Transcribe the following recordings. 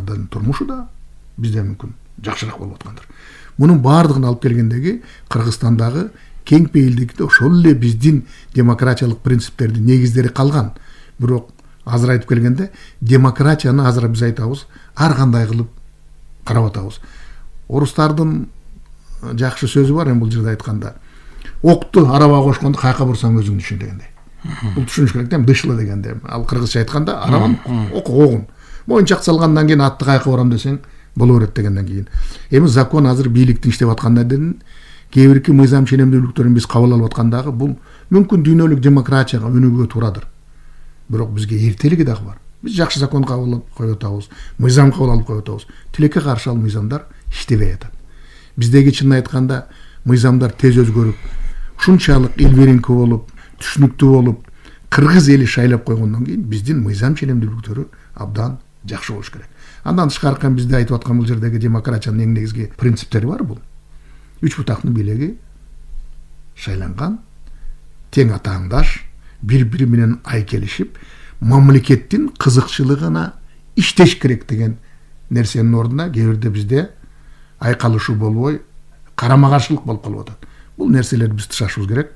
орустардын турмушу да бизде мүмкүн жакшыраак болуп аткандыр. Мунун баардыгын алып келгендеги Кыргызстандагы кең пейилдикте ошол эле биздин демократиялык принциптердин негиздери калган. Бирок азыр айтып келгенде демократияны азыр биз айтабыз ар кандай кылып карап атабыз. Орустардын жакшы сөзү бар, бул жерде айтканда. Окту арабага кошкондо каяка бурсаң өзүң түшүн дегенде. Бул түшүнүш керек да, дышлы дегенде. Ал кыргызча айтканда арабан огун. Моюнчак салгандан кийин атты каяка бурам десең боло берет дегенден кийин. Эми закон азыр бийликтин иштеп аткандан кээ бирки мыйзам ченемдүүлүктөрүн биз кабыл алып аткандагы бул мүмкүн дүйнөлүк демократияга өнүгүүгө туурадыр. Бирок бизге эртелиги дагы бар. Биз жакшы закон кабыл алып коюп атабыз, мыйзам кабыл алып коюп атабыз. Тилекке каршы ал мыйзамдар иштебей атат. Биздеги чынын айтканда мыйзамдар тез өзгөрүп, ушунчалык илбиринки болуп, түшүнүктүү болуп, кыргыз эли шайлап койгондон кийин биздин мыйзам ченемдүүлүктөрү абдан жакшы болуш керек. Андан тышкары бизде айтып аткан бул жердеги демократиянын эң негизги принциптери бар бул. Үч бутактын бийлиги шайланган, тең атааңдаш, бири-бири менен айкелишип, мамлекеттин кызыкчылыгына иштеш керек деген нерсенин ордуна кээ бирде бизде айкалышуу болбой, карама-каршылык болуп калып атат. Бул нерселерди биз тышашыбыз керек.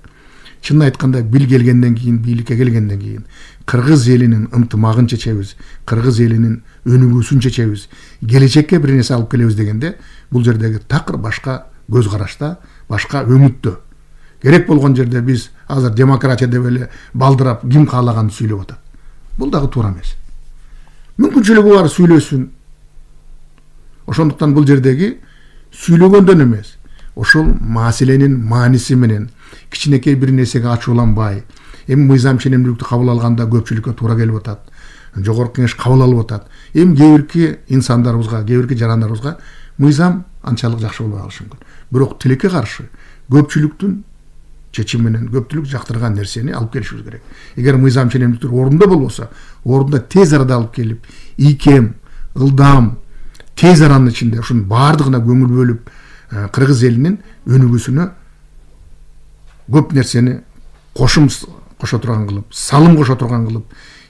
Чынын айтканда бил келгенден кийин, бийликке келгенден кийин кыргыз элинин ынтымагын чечебиз, кыргыз элинин өнүгүүсүн чечебиз, келечекке бир нерсе алып келебиз дегенде бул жердеги такыр башка көз карашта, башка өңүттө. Керек болгон жерде биз азыр демократия деп эле балдырап ким каалаганды сүйлөп атат. Бул дагы туура эмес. Мүмкүнчүлүгү бар сүйлөсүн. Ошондуктан бул жердеги сүйлөгөндөн эмес, ошол маселенин мааниси менен кичинекей бир нерсеге ачууланбай, эми мыйзам ченемдүүлүктү кабыл алганда көпчүлүккө туура келип атат. Жогорку кеңеш кабыл алып атат. Эми кээ бирки инсандарыбызга, кээ бирки жарандарыбызга мыйзам анчалык жакшы болбой калышы мүмкүн. Бирок тилекке каршы көпчүлүктүн чечими менен көпчүлүк жактырган нерсени алып келишибиз керек. Эгер мыйзам ченемдүүлүктөр орунда болбосо, орунда тез арада алып келип, ийкем, ылдам, тез аранын ичинде ушунун баардыгына көңүл бөлүп, кыргыз элинин өнүгүүсүнө көп нерсени кошо турган кылып, салым кошо турган кылып,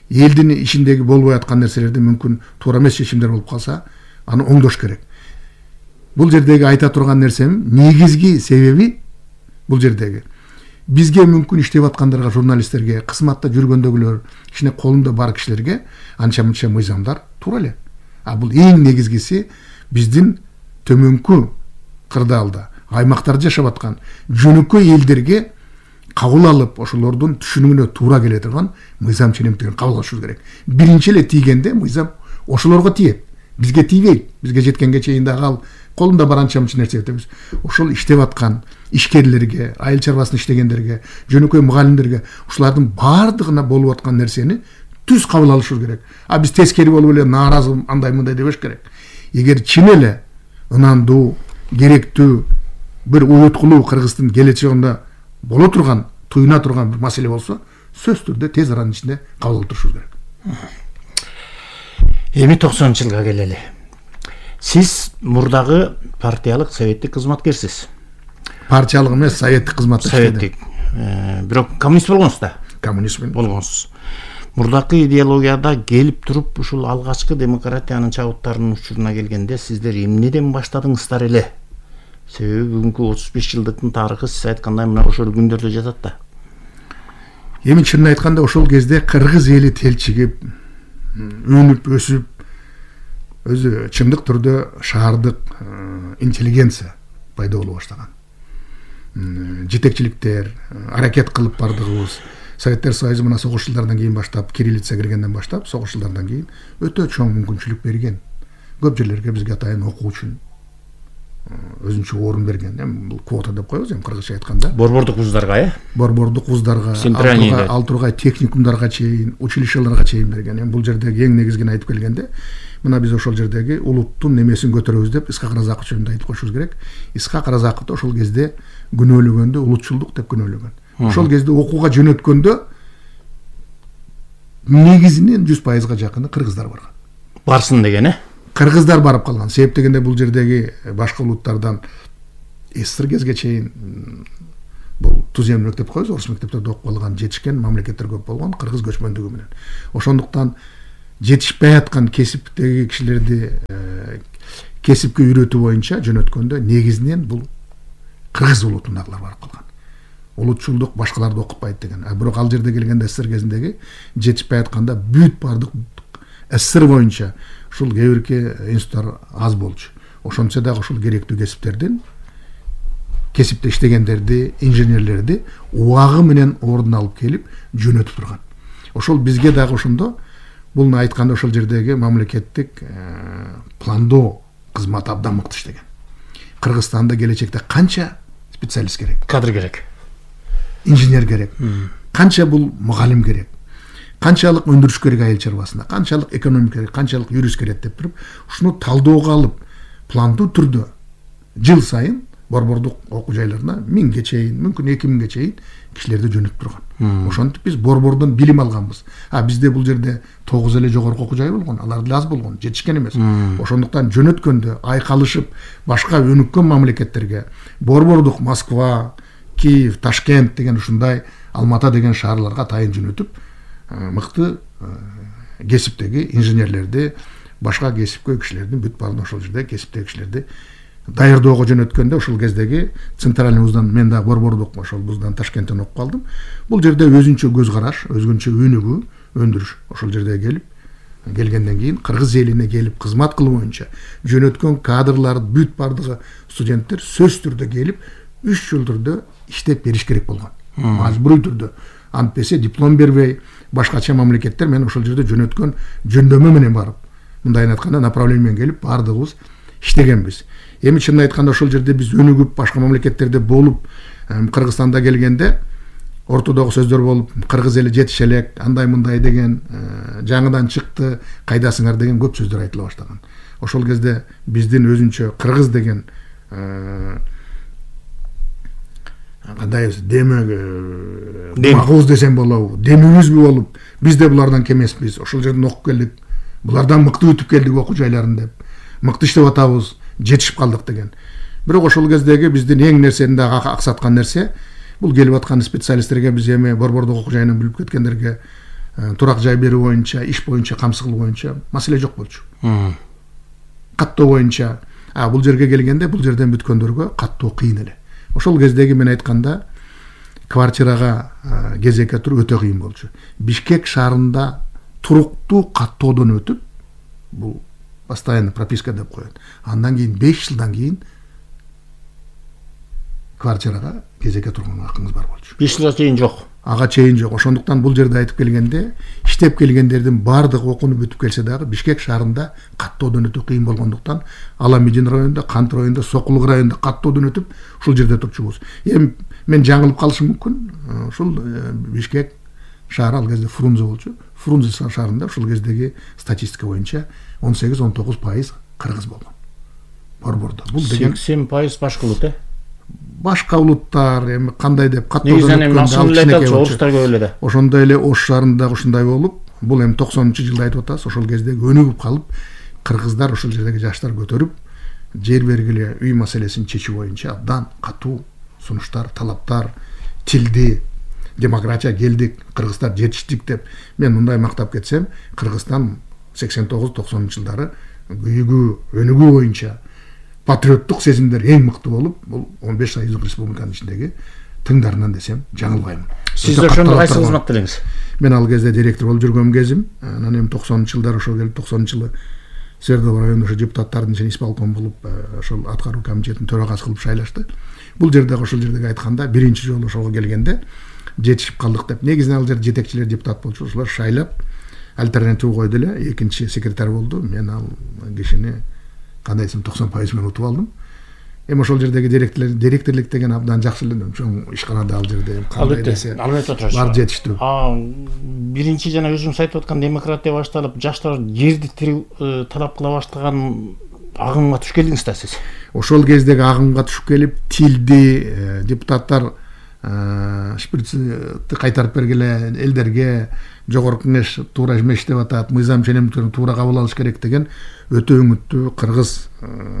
элдин ичиндеги болбой аткан нерселерди мүмкүн туура эмес чечимдер болуп калса, аны оңдош керек. Бул жердеги айта турган нерсем негизги себеби бул жердеги бизге мүмкүн иштеп аткандарга, журналисттерге, кызматта жүргөндөгүлөр, кичине колунда бар кишилерге анча-мынча мыйзамдар туура эле. А бул эң негизгиси биздин төмөнкү кырдаалда, аймактарда жашап аткан жөнөкөй элдерге кабыл алып, ошолордун түшүнүгүнө туура келе турган мыйзам ченемдүүлүктөрүн кабыл алышыбыз керек. Биринчи эле тийгенде мыйзам ошолорго тиет. Бизге тийбейт. Бизге жеткенге чейин дагы ал колунда бар анча-мынча нерсе этебиз. Ошол иштеп аткан ишкерлерге, айыл чарбасын иштегендерге, жөнөкөй мугалимдерге, ушулардын баардыгына болуп аткан нерсени түз кабыл алышыбыз керек. А биз тескери болуп эле нааразы андай-мындай дебеш керек. Эгер чын эле ынандуу, керектүү, бир уюткулуу Кыргыздын келечегинде боло турган, туюна турган бир маселе болсо, сөзсүз түрдө тез аранын ичинде кабыл алып турушубуз керек. Эми 90-жылга келели. Сиз мурдагы партиялык советтик кызматкерсиз. Партиялык эмес, советтик кызматта советтик. Бирок коммунист болгонсуз да. Коммунист болгонсуз. Мурдакы идеологияда келип туруп ушул алгачкы демократиянын чабыттарынын учуруна келгенде сиздер эмнеден баштадыңыздар эле? Себеби бүгүнкү 35 жылдыктын тарыхы сиз айткандай мына ошол күндөрдө жатат да. Эми чынын айтканда ошол кезде кыргыз эли телчигип, өнүп, өсүп, өзү чындык түрдө шаардык интеллигенция пайда боло баштаган. Жетекчиликтер аракет кылып бардыгыбыз, Советтер Союзу мына согуш жылдардан кийин баштап, кириллица киргенден баштап, согуш жылдардан кийин өтө чоң мүмкүнчүлүк берген. Көп жерлерге бизге атайын окуу үчүн өзүнчө орун берген. Эми бул квота деп коебуз, эми кыргызча айтканда. Борбордук вуздарга, Борбордук вуздарга, ал тургай техникумдарга чейин, училищелерге чейин берген. Эми бул жердеги эң негизгини айтып келгенде, мына биз ошол жердеги улуттун немесин көтөрөбүз деп Исхак Разаков жөнүндө айтып коюшубуз керек. Исхак Разаковду ошол кезде күнөөлөгөндө улутчулдук деп күнөөлөгөн. Ошол кезде окууга жөнөткөндө негизинен 100%га жакыны кыргыздар барган. Барсын деген, Кыргыздар барып калган. Себеп дегенде бул жердеги башка улуттардан СССР кезге чейин бул тузем мектеп коебуз, орус мектептерде окуп калган жетишкен мамлекеттер көп болгон, кыргыз көчмөндүгү менен. Ошондуктан жетишпей аткан кесиптеги кишилерди кесипке үйрөтүү боюнча жөнөткөндө негизинен бул кыргыз улутундагылар барып калган. Улутчулдук башкаларды окутпайт деген. Бирок ал жерде келгенде СССР кезиндеги жетишпей атканда бүт бардык СССР боюнча ушул кээ бирки институттар аз болчу. Ошончо дагы ушул керектүү кесиптердин кесипте иштегендерди, инженерлерди убагы менен ордун алып келип жөнөтүп турган. Ошол бизге дагы ошондо бул айтканда ошол жердеги мамлекеттик пландоо кызматы абдан мыкты иштеген. Кыргызстанда келечекте канча специалист керек? Кадр керек. Инженер керек. Канча бул мугалим керек? Канчалык өндүрүш керек айыл чарбасында? Канчалык экономика керек? Канчалык юрист керек деп туруп, ушуну талдоого алып, пландуу түрдө жыл сайын борбордук окуу жайларына 1000ге чейин, мүмкүн 2000ге чейин кишилерди жөнөтүп турган. Ошентип биз борбордон билим алганбыз. Бизде бул жерде 9 эле жогорку окуу жай болгон, алар деле аз болгон, жетишкен эмес. Ошондуктан жөнөткөндө айкалышып башка өнүккөн мамлекеттерге борбордук Москва, Киев, Ташкент деген ушундай, Алмата деген шаарларга тайын жөнөтүп, мыкты кесиптеги инженерлерди, башка кесипкөй кишилердин бүт баарын ошол жерде кесиптеги кишилерди даярдоого жөнөткөндө ушул кездеги центральный вуздан мен да борбордук ошол вуздан Ташкенттен окуп калдым. Бул жерде өзүнчө көз караш, өзгөнчө өнүгүү, өндүрүш ошол жерде келгенден кийин кыргыз элине келип кызмат кылуу боюнча жөнөткөн кадрлар бүт бардыгы студенттер сөзсүз түрдө келип 3 жыл түрдө иштеп бериш керек болгон. Мажбурий түрдө. Антпесе диплом бербей, башкача мамлекеттер мен ошол жерде жөнөткөн жөндөмө менен барып, мындайын айтканда направление менен келип бардыгыбыз иштегенбиз. Эми чынын айтканда ошол жерде биз өнүгүп башка мамлекеттерде болуп, Кыргызстанда келгенде ортодогу сөздөр болуп, кыргыз эли жетише элек, андай мындай деген, жаңыдан чыкты, кайдасыңар деген көп сөздөр айтыла баштаган. Ошол кезде биздин өзүнчө кыргыз деген кандай демек магуз десем болобу, демибизби болуп, биз да булардан кем эмеспиз. Ошол жерден окуп келдик, булардан мыкты өтүп келдик окуу жайларын деп, мыкты иштеп атабыз, жетишип калдык деген. Бирок ошол кездеги биздин эң нерсени дагы аксаткан нерсе, бул келип аткан специалисттерге биз эми борбордук окуу жайынан билип кеткендерге турак жай берүү боюнча, иш боюнча, камсыз кылуу боюнча маселе жок болчу. Каттоо боюнча, бул жерге келгенде бул жерден бүткөндөргө каттоо кыйын эле. Ошол кездеги мен айтканда квартирага кезекке туруп өтө кыйын болчу. Бишкек шаарында туруктуу каттоодон өтүп, бул постоянный прописка деп коет. Андан кийин 5 жылдан кийин квартирага кезекке турган акыңыз бар болчу. 5 жылга чейин жок. Ага чейин жок. Ошондуктан бул жерде айтып келгенде, иштеп келгендердин бардыгы окунуп бүтүп келсе дагы Бишкек шаарында каттоодон өтө кыйын болгондуктан Аламедин районунда, Кант районунда, Сокулук районунда каттоодон өтүп ушул жерде турчубуз. Эми мен жаңылып калышым мүмкүн. Ушул Бишкек шаары ал кезде Фрунзе болчу. Фрунзе шаарында ушул кездеги статистика боюнча 18-19% кыргыз болгон. Борбордо. Бул деген 80% башка улут, башка улуттар эми кандай деп каттоодон өткөндө ошондой эле Ош шаарында ушундай болуп, бул эми 90-жылда айтып атабыз, ошол кездеги өнүгүп калып, кыргыздар ошол жердеги жаштар көтөрүп, жер бергиле үй маселесин чечүү боюнча абдан катуу сунуштар, талаптар, тилди, демократия келдик, кыргыздар жетиштик деп мен мындай мактап кетсем, Кыргызстан 89-90 жылдары күйүгүү, өнүгүү боюнча патриоттук сезимдер эң мыкты болуп, бул 15 союздук республиканын ичиндеги тыңдарынан десем жаңылбайм. Сиз ошондо кайсы кызматта элеңиз? Мен ал кезде директор болуп жүргөн кезим, анан эми 90-жылдары ошо келип 90-жылы Свердлов районунда ошо депутаттардын ичинен исполком болуп, ошол аткаруу комитетинин төрагасы кылып шайлашты. Бул жерде ошол жердеги айтканда биринчи жолу ошого келгенде жетишип калдык деп. Негизинен ал жерде жетекчилер депутат болчу, ошолор шайлап альтернатива койду эле, экинчи секретарь болду. Мен ал кишини кандайсым 90% менен утуп алдым. Эми ошол жердеги директорлук деген абдан жакшы эле чоң ишканада ал жерде кандай десе бар жетиштүү. Биринчи жана өзүңүз айтып аткан демократия башталып, жаштар жерди талап кыла баштаган агымга түшүп келдиңиз да сиз. Ошол кездеги агымга түшүп келип, тилди депутаттар шприцти кайтарып бергиле, элдерге жогорку кеңеш туура эмес деп атат, мыйзам ченемдиктерин туура кабыл алыш керек деген өтө үмүттүү кыргыз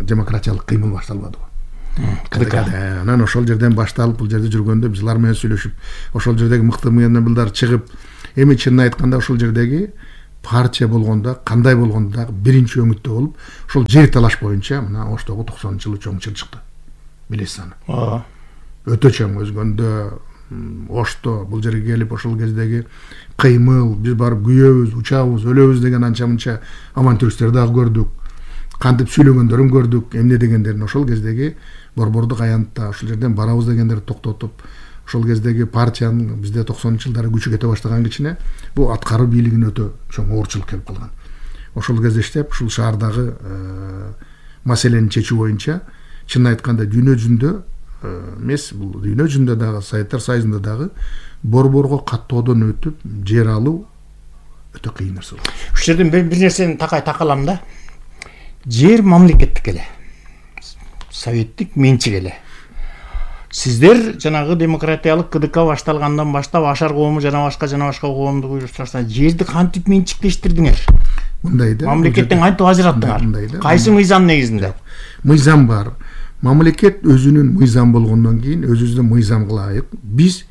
демократиялык кыймыл башталбады. Анан ошол жерден башталып, бул жерде жүргөндө биз алар менен сүйлөшүп, ошол жердеги мыкты мыйзамдар чыгып, эми чынын айтканда ошол жердеги партия болгондо кандай болгондо дагы биринчи өңүттө болуп ошол жер талаш боюнча мына Оштогу 90-жылы чоң чыр чыкты. Билесиз аны. Өтө чоң өзгөндө Ошто бул жерге келип ошол кездеги кыймыл, биз барып күйөбүз, учабыз, өлөбүз деген анча мынча авантюристтер дагы көрдүк. Кантип сүйлөгөндөрүн көрдүк, эмне дегендерин ошол кездеги борбордук аянтта ошол жерден барабыз дегендерди токтотуп, ошол кездеги партиянын бизде 90-жылдары күчү кете баштаган кичине бул аткаруу бийлигине өтө чоң оорчулук келип калган. Ошол кезде иштеп, ушул шаардагы маселени чечүү боюнча чын айтканда дүйнө жүзүндө эмес, бул дүйнө жүзүндө дагы Советтер Союзунда дагы борборго каттоодон өтүп жер алуу өтө кыйын нерсе болду. Ушул жерден бир нерсени такалам да. Жер мамлекеттик эле. Советтик менчик эле. Сиздер жанагы демократиялык КДК башталгандан баштап Ашар коому жана башка коомду буйруштарса жерди кантип менчиктештирдиңер? Мындай да. Мамлекеттен кантип ажыраттыңар? Кайсы мыйзам негизинде? Мыйзам бар. Мамлекет өзүнүн мыйзам болгондон кийин өзүбүздүн мыйзамга ылайык биз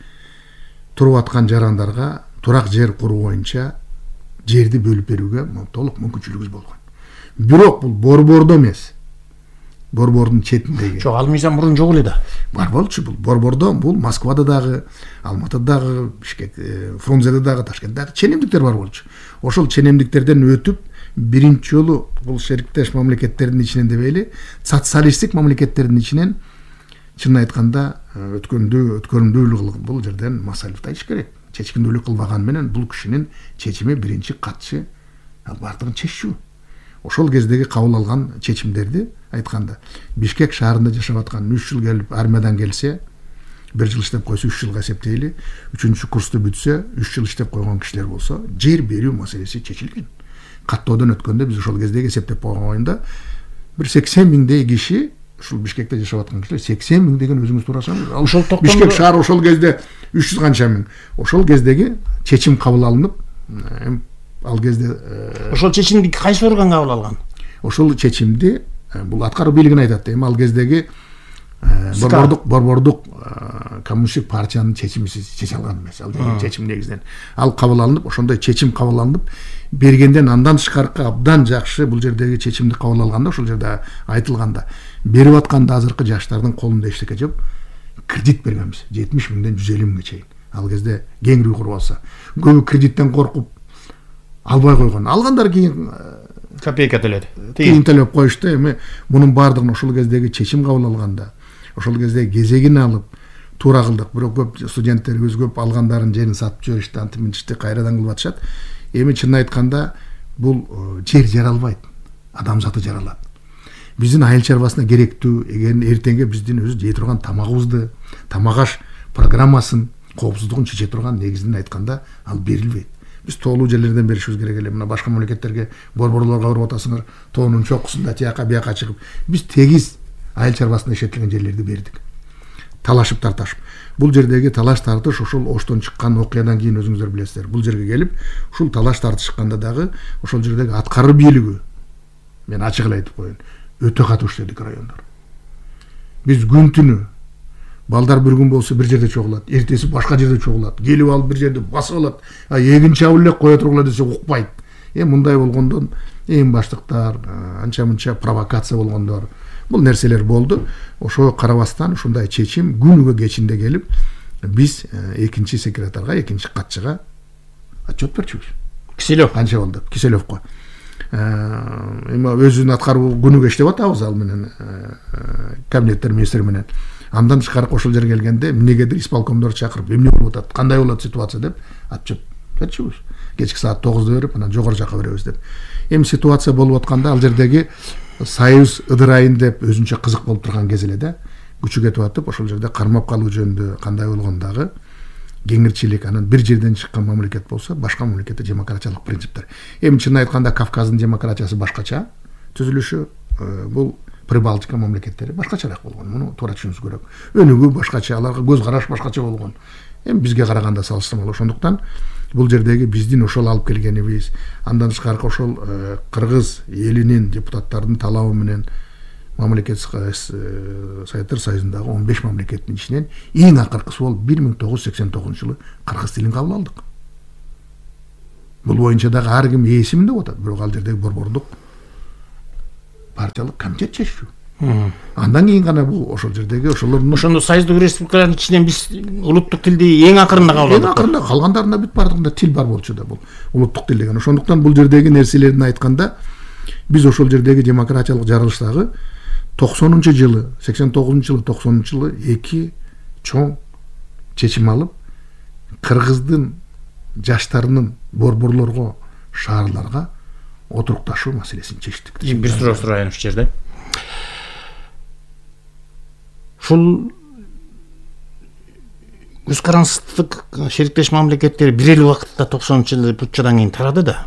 туруп аткан жарандарга турак жер куруу боюнча жерди бөлүп берүүгө толук мүмкүнчүлүгүбүз болгон. Бирок бул борбордо эмес. Борбордун четиндеги. Жок, ал мыйзам мурун жок эле да. Бар болчу бул. Борбордо бул Москвада дагы, Алматыда дагы, Бишкек, Фрунзеде дагы, Ташкентте дагы ченемдиктер бар болчу. Ошол ченемдиктерден өтүп биринчи жолу бул шериктеш мамлекеттердин ичинен дебейли, социалисттик мамлекеттердин ичинен чын айтканда өткөрүмдүүлүк бул жерден Масалев айтыш керек. Чечкиндүүлүк кылбаган менен бул кишинин чечими биринчи катчы бардыгын чечүү. Ошол кездеги кабыл алган чечимдерди айтканда Бишкек шаарында жашап аткан 3 жыл келип армиядан келсе, 1 жыл иштеп койсо 3 жылга эсептейли, 3-курсту бүтсө 3 жыл иштеп койгон кишилер болсо, жер берүү маселеси чечилген. Каттоодон өткөндө биз ошол кездеги эсептеп койгон оюнда бир 80 миңдей киши ушул Бишкекте жашап аткан кишилер 80 миң деген өзүңүз турасаңыз, ошол Бишкек шаары ошол кезде 300 канча миң. Ошол кездеги чечим кабыл алынып, ал кезде ошол чечимди кайсы орган кабыл алган? Ошол чечимди бул аткаруу бийлигин айтат. Эми ал кездеги борбордук коммунисттик партиянын чечими чече алган эмес. Ал чечим негизинен ал кабыл алынып, ошондой чечим кабыл алынып бергенден андан тышкаркы абдан жакшы бул жердеги чечимди кабыл алганда ошол жерде айтылганда берип атканда азыркы жаштардын колунда эчтеке жок, кредит бергенбиз 70 миңден 150 миңге чейин. Ал кезде кеңири куруп алса, көбү кредиттен коркуп албай койгон. Алгандар кийин копейка төлөдү. Кийин төлөп коюшту. Эми мунун баардыгын ошол кездеги чечим кабыл алганда, ошол кезде кезегин алып туура кылдык. Бирок көп студенттерибиз көп алгандарын жерин сатып жиберишти, антип мынтишти кайрадан кылып атышат. Эми чын айтканда бул жер жаралбайт. Адам заты жаралат. Биздин айыл чарбасына керектүү, эртеңге биздин өзү жей турган тамагыбызды, тамак аш программасын, коопсуздугун чече турган негизинен айтканда ал берилбейт. Биз тоолуу жерлерден беришибиз керек эле. Мына башка мамлекеттерге борборлорго барып атасыңар, тоонун чокусунда тияка бияка чыгып, биз тегиз айыл чарбасында иштетилген жерлерди бердик. Талашып тарташып. Бул жердеги талаш тартыш ошол Оштон чыккан окуядан кийин өзүңүздөр билесиздер. Бул жерге келип, ушул талаш тартышканда дагы ошол жердеги аткаруу бийлиги, мен ачык эле айтып коеюн, өтө катуу иштедик райондор. Биз күн түнү балдар bir gün болсо бир жерде чогулат, эртеси башка жерде чогулат, келип алып бир жерде басып алат, эгин чабыл эле кое тургула десе укпайт. Мындай болгондон эң баштыктар, анча мынча провокация болгондор, бул нерселер болду. Ошого карабастан ушундай чечим күнүгө кечинде келип, биз экинчи секретарга, экинчи катчыга отчет берчүбүз. Киселев канча болду? Киселевко. Эми өзүнүн аткаруу күнүгө иштеп атабыз ал менен кабинеттер министри менен. Андан тышкары ошол жерге келгенде эмнегедир исполкомдор чакырып, эмне болуп атат, кандай болот ситуация деп отчет берчүбүз. Кечки саат 9-да берип, анан жогору жака беребиз деп. Эми ситуация болуп атканда ал жердеги Союз ыдырайын деп өзүнчө кызык болуп турган кез эле да, күчү кетип атып, ошол жерде кармап калуу жөнүндө кандай болгондагы кеңирчилик, анан бир жерден чыккан мамлекет болсо, башка мамлекетте демократиялык принциптер. Эми чын айтканда Кавказдын демократиясы башкача түзүлүшү, бул Прибалтика мамлекеттери башкачараак болгон. Муну туура түшүнүш керек. Өнүгүү башкача, аларга көз караш башкача болгон. Эми бизге караганда салыштырмалуу. Ошондуктан бул жердеги биздин ошол алып келгенибиз, андан тышкары ошол кыргыз элинин депутаттардын талабы менен мамлекет Советтер Союзундагы 15 мамлекеттин ичинен эң акыркысы болуп 1989 жылы кыргыз тилин кабыл алдык. Бул боюнча дагы ар ким ээсимин деп атат, бирок ал жердеги борбордук партиялык комитет чеччү. Андан кийин гана бул ошол жердеги ошолордун ошондо союздук республикалардын ичинен биз улуттук тилди эң акырында кабыл алдык. Эң акырында калгандарында бүт бардыгында тил бар болчу да, бул улуттук тил деген. Ошондуктан бул жердеги нерселерин айтканда биз ошол жердеги демократиялык жарылыштагы 90-жылы, 89-жылы, 90-жылы эки чоң чечим алып, кыргыздын жаштарынын борборлорго, шаарларга отурукташуу маселесин чечтик. Бир суроо сурайын ушул жерде. Ушул көз карандык шериктеш мамлекеттер бир эле убакытта 90-жылы путчадан кийин тарады да.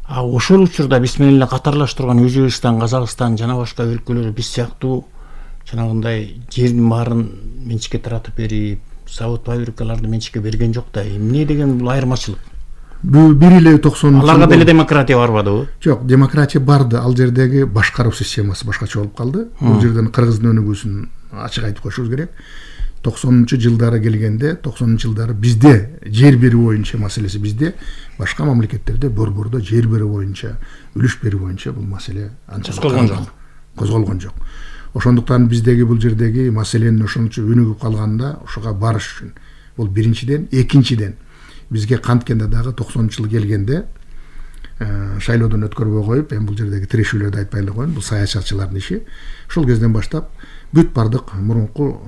А ошол учурда биз менен эле катарлаш турган Өзбекстан, Казакстан жана башка өлкөлөр биз сыяктуу жанагындай жердин баарын менчикке таратып берип, завод фабрикаларды менчикке берген жок да. Эмне деген бул айырмачылык? Бир эле 90. Аларга деле демократия барбадыбы? Жок, демократия барды. Ал жердеги башкаруу системасы башкача болуп калды. Бул жерден кыргыздын өнүгүүсүн ачык айтып коюшубуз керек. 90-жылдары келгенде, 90-жылдары бизде жер берүү боюнча маселеси бизде, башка мамлекеттерде борбордо жер берүү боюнча, үлүш берүү боюнча бул маселе анчалык козголгон жок. Ошондуктан биздеги бул жердеги маселенин ошончо өнүгүп калганда ошого барыш үчүн бул биринчиден, экинчиден бизге канткенде дагы 90-жыл келгенде шайлоодон өткөрбөй коюп, эми бул жердеги тирешүүлөрдү айтпай эле коеюн, бул саясатчылардын иши. Ошол кезден баштап бүт бардык мурунку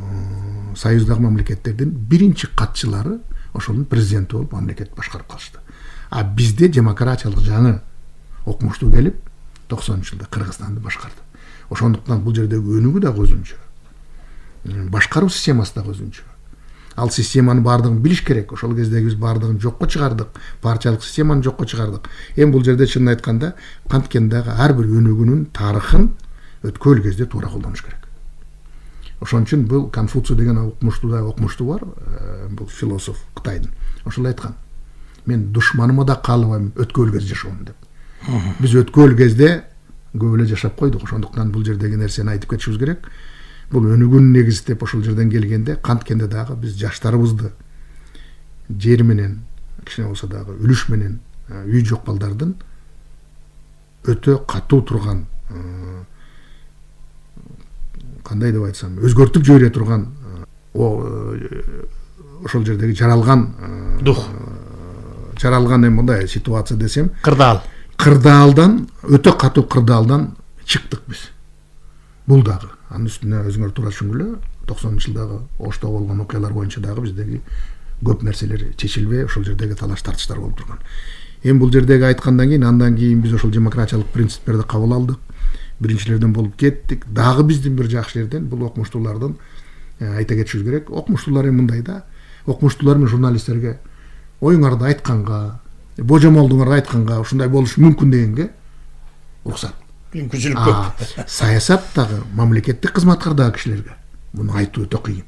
союздагы мамлекеттердин биринчи катчылары ошонун президенти болуп мамлекет башкарып калышты. А бизде демократиялык жаңы окумуштуу келип 90-жылда Кыргызстанды башкарды. Ошондуктан бул жердеги өнүгүү дагы өзүнчө, башкаруу системасы дагы өзүнчө. Ал системанын баардыгын билиш керек. Ошол кездеги биз баардыгын жокко чыгардык, партиялык системаны жокко чыгардык. Эми бул жерде чынын айтканда канткен дагы ар бир өнүгүүнүн тарыхын өткөн кезде туура колдонуш керек. Ошон үчүн бул Конфуций деген окумуштуу бар, бул философ Кытайдын. Ошол айткан: мен душманыма да каалабайм өткөн кезде жашоомун деп. Биз өткөн кезде көп эле жашап койдук. Ошондуктан бул жердеги нерсени айтып кетишибиз керек. Бул өнүгүүнүн негизи деп ошол жерден келгенде канткенде дагы биз жаштарыбызды жер менен, кичине болсо дагы үлүш менен үй жок балдардын өтө катуу турган, кандай деп айтсам, өзгөртүп жибере турган ошол жердеги жаралган дух, жаралган эми мындай ситуация десем, кырдаалдан, өтө катуу кырдаалдан чыктык биз. Бул дагы анын үстүнө өзүңөр туура түшүнгүлө, 90-жылдагы Ошто болгон окуялар боюнча дагы биздеги көп нерселер чечилбей, ошол жердеги талаш тартыштар болуп турган. Эми бул жердеги айткандан кийин, андан кийин биз ошол демократиялык принциптерди кабыл алдык. Биринчилерден болуп кеттик. Дагы биздин бир жакшы жерден бул окумуштуулардын айта кетишибиз керек. Окумуштуулар эми мындай да, окумуштуулар менен журналисттерге оюңарды айтканга, божомолдуңарды айтканга ушундай болушу мүмкүн дегенге уруксат. Мүмкүнчүлүк көп. Саясаттагы, мамлекеттик кызматкардагы кишилерге муну айтуу өтө кыйын.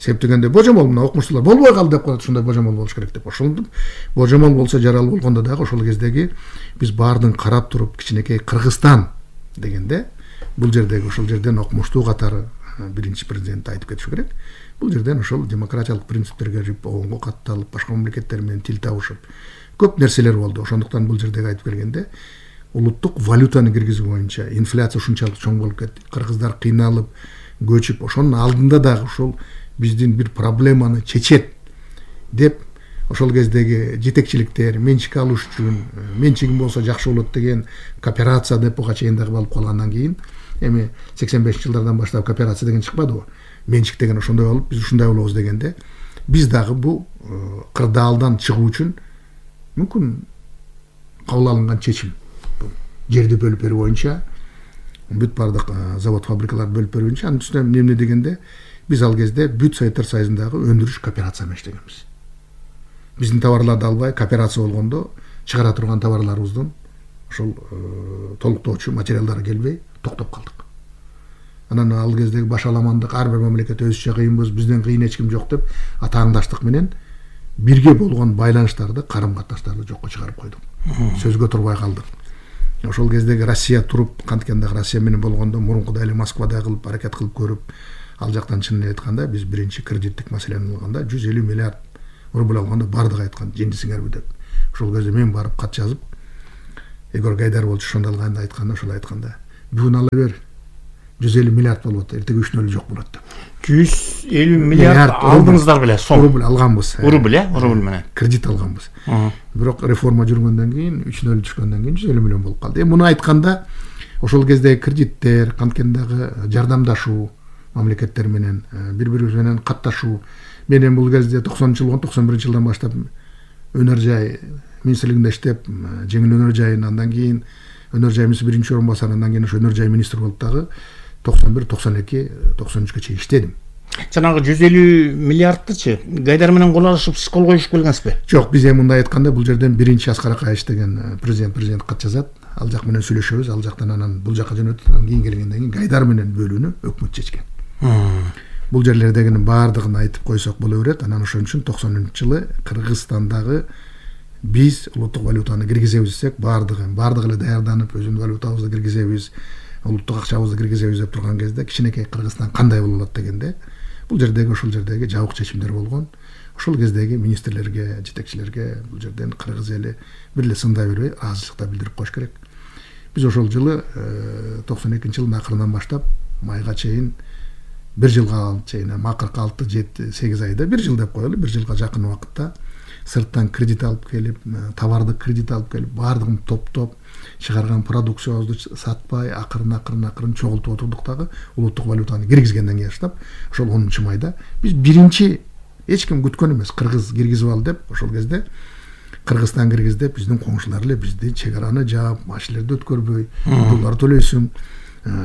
Себеп дегенде божомол мына окумуштуулар болбой калды деп коет, ушундай божомол болуш керек деп. Ошондо божомол болсо жарал болгондо дагы ошол кездеги биз баардыгын карап туруп, кичинекей Кыргызстан дегенде бул жердеги ошол жерден окумуштуу катары биринчи президент айтып кетиш керек. Бул жерден ошол демократиялык принциптерге рипогонго катталып, башка мамлекеттер менен тил табышып көп нерселер болду. Ошондуктан бул жердеги айтып келгенде улуттук валютаны киргизүү боюнча инфляция ушунчалык чоң болуп кетти. Кыргыздар кыйналып, көчүп, ошонун алдында дагы ушул биздин бир проблеманы чечет деп ошол кездеги жетекчиликтер менчик алыш үчүн, менчигим болсо жакшы болот деген кооперация деп буга чейин дагы алып калгандан кийин, эми 85-жылдардан баштап кооперация деген чыкпадыбы? Менчик деген ошондой болуп, биз ушундай болобуз дегенде, биз дагы бул кырдаалдан чыгуу үчүн мүмкүн кабыл алынган чечим. Жерди бөлүп берүү боюнча, бүт бардык завод фабрикаларды бөлүп берүү боюнча, анын үстүнө эмне дегенде биз ал кезде бүт Советтер Союзундагы өндүрүш кооперация менен иштегенбиз. Биздин товарларды албай, кооперация болгондо чыгара турган товарларыбыздын ошол толуктоочу материалдары келбей токтоп калдык. Анан ал кездеги башаламандык, ар бир мамлекет өзүчө кыйынбыз, бизден кыйын эч ким жок деп атааңдаштык менен бирге болгон байланыштарды, карым-катнаштарды жокко чыгарып койдук. Сөзгө турбай калдык. Ошол кездеги Россия туруп, канткенде Россия менен болгондо мурункудай эле Москвада кылып, аракет кылып көрүп, ал жактан чынын айтканда биз биринчи кредиттик маселени алганда 150 миллиард рубль алганда бардыгы айткан, жеңдисиңерби деп. ошол кезде мен барып кат жазып, Егор Гайдар болчу ошондо алганда айтканда, ошол айтканда, бүгүн ала бер, 150 миллиард болот, эртеге 3-0 жок болот деп. 150 миллиард алдыңыздар беле, сом. Рубль алганбыз. Рубль, рубль менен. Кредит алганбыз. Бирок реформа жүргөндөн кийин, 3-0 түшкөндөн кийин 150 миллион болуп калды. Муну айтканда, ошол кездеги кредиттер, канткендагы жардамдашуу мамлекеттер менен, бири-бирибиз менен катташуу. Мен бул кезде 90-жыл, 91-жылдан баштап өнөр жай министрлигинде иштеп, жеңил өнөр жайын, андан кийин өнөр жай министри биринчи орун басары, андан кийин ошо өнөр жай министр болуп дагы 91, 92, 93 чейин иштедим. Жанагы 150 миллиардтычы Гайдар менен кол алышып, сиз кол коюшуп келгенсизби? Жок, биз мындай айтканда, бул жерден биринчи Аскар Акаевич деген президент кат жазат. Ал жак менен сүйлөшөбүз, ал жактан анан бул жака жөнөтүп, анан кийин келгенден кийин Гайдар менен бөлүүнү өкмөт чечкен. Бул жерлердегинин баардыгын айтып койсок боло берет. Анан ошон үчүн 90-жылы Кыргызстандагы биз улуттук валютаны киргизебиз десек, баардыгы эле даярданып, өзүнүн валютабызды киргизебиз, улуттук акчабызды киргизебиз деп турган кезде, кичинекей Кыргызстан кандай болот дегенде, бул жердеги ошол жердеги жабык чечимдер болгон. Ошол кездеги министрлерге, жетекчилерге бул жерден кыргыз эли бир эле сындай бербей, ыраазычылыкта билдирип коюш керек. Биз ошол жылы 92-жылдын акырынан баштап майга чейин 1 жылга чейин, акыркы 6-7-8 айда 1 жыл деп коелу, 1 жылга жакын убакытта сырттан кредит алып келип, товарды кредит алып келип, баардыгын топтоп, чыгарган продукциябызды сатпай, акырын чогултуп отурдук дагы, улуттук валютаны киргизгенден кийин баштап, ошол 10-майда биз биринчи эч ким күткөн эмес, кыргыз киргизип ал деп, ошол кезде Кыргызстан киргиздеп, биздин коңшулар эле бизди чек араны жаап, машинелерди өткөрбөй, доллар төлөйсүң,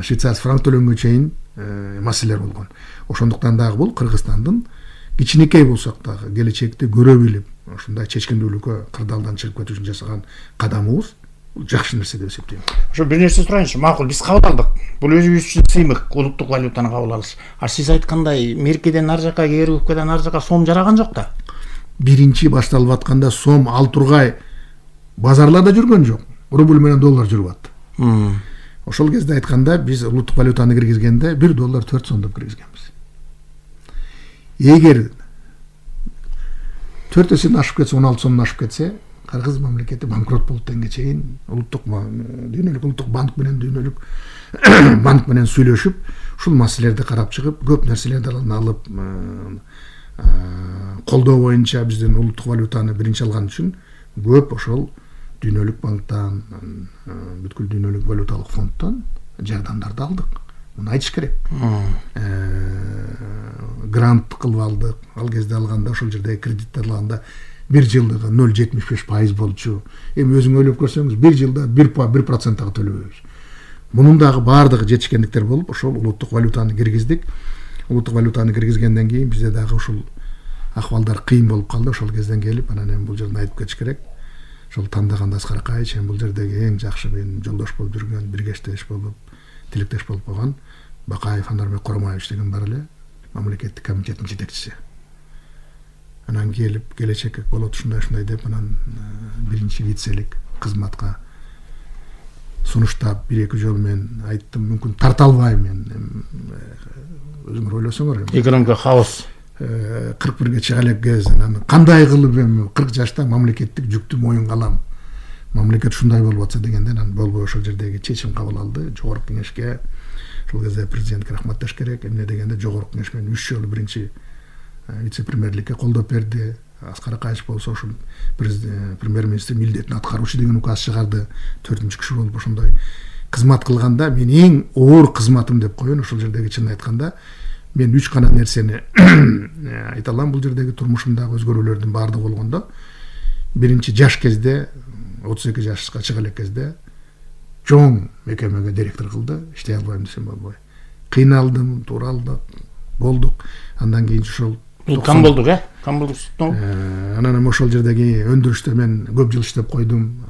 швейцарский франк төлөнгө чейин маселелер болгон. Ошондуктан дагы бул Кыргызстандын кичинекей болсок дагы келечекти көрө билип, ушундай чечкиндүүлүккө кырдаалдан чыгып кетүү үчүн жасаган кадамыбыз бул жакшы нерсе деп эсептейм. Ошо бир нерсе сурайынчы, макул, биз кабыл алдык. Бул өзүбүз үчүн сыймык, улуттук валютаны кабыл алыш. Сиз айткандай, меркеден ар жака, КРУКдан ар жака сом жараган жок да. Биринчи башталып атканда сом ал тургай базарларда жүргөн жок. Рубль менен доллар жүрүп атты. Ошол кезде айтканда, биз улуттук валютаны киргизгенде 1 доллар 4 сом деп киргизгенбиз. Эгер 4 эседен ашып кетсе, 16 сомдон ашып кетсе, Кыргыз мамлекети банкрот болуп тенге чейин улуттук банк менен сүйлөшүп, ушул маселелерди карап чыгып, көп нерселерди алып, колдоо боюнча биздин улуттук валютаны биринчи алган үчүн көп ошол дүйнөлүк банктан, бүткүл дүйнөлүк валюталык фонддон жардамдарды алдык. Муну айтыш керек. Грант кылып алдык. Ал кезде алганда, ошол жердеги кредиттер алганда 1 жылдыгы 0,75% болчу. Эми өзүң ойлоп көрсөңүз, 1 жылда 1% төлөбөйбүз. Мунун дагы баардыгы жетишкендиктер болуп, ошол улуттук валютаны киргиздик. Улуттук валютаны киргизгенден кийин бизде дагы ушул акыбалдар кыйын болуп калды. Ошол кезден келип, анан эми бул жерден айтып кетиш керек. Ошол тандаганда Аскар Акаевич бул жердеги эң жакшы мен жолдош болуп жүргөн, биргештеш болуп, тилектеш болуп калган Бакаев Анарбек Коромаевич деген бар эле, мамлекеттик комитеттин жетекчиси. Анан келип, келечекке болот ушундай деп, анан биринчи вицелик кызматка сунуштап 1-2 жолу мен айттым, мүмкүн тарта албайм мен. Өзүңөр ойлосоңор эми. Экономика хаос. 41-ге чыга элек кез, анан кандай кылып эми 40 жашта мамлекеттик жүктү моюнга алам. Мамлекет ушундай болуп атса дегенде, анан болбой ошол жердеги чечим кабыл алды. Жогорку кеңешке, ошол кезде президентке рахматташ керек. Эмне дегенде Жогорку кеңеш менен 3 жолу биринчи вице-премьерликке колдоп берди. Аскар Акаевич болсо ошол премьер-министр милдетин аткаруучу деген указ чыгарды. 4-киши болуп ошондой кызмат кылганда, мен эң оор кызматым деп коеюн, ошол жердеги чын айтканда, мен 3 гана нерсени айта алам бул жердеги турмушумдагы өзгөрүүлөрдүн баардыгы болгондо. Биринчи жаш кезде, 32 жашка чыга элек кезде чоң мекемеге директор кылды, иштей албайм десем болбой. Кыйналдым, туралдык, болдук. Андан кийин ошол кам болдук, кам болдук. Анан ошол жердеги өндүрүштө мен көп жыл иштеп койдум.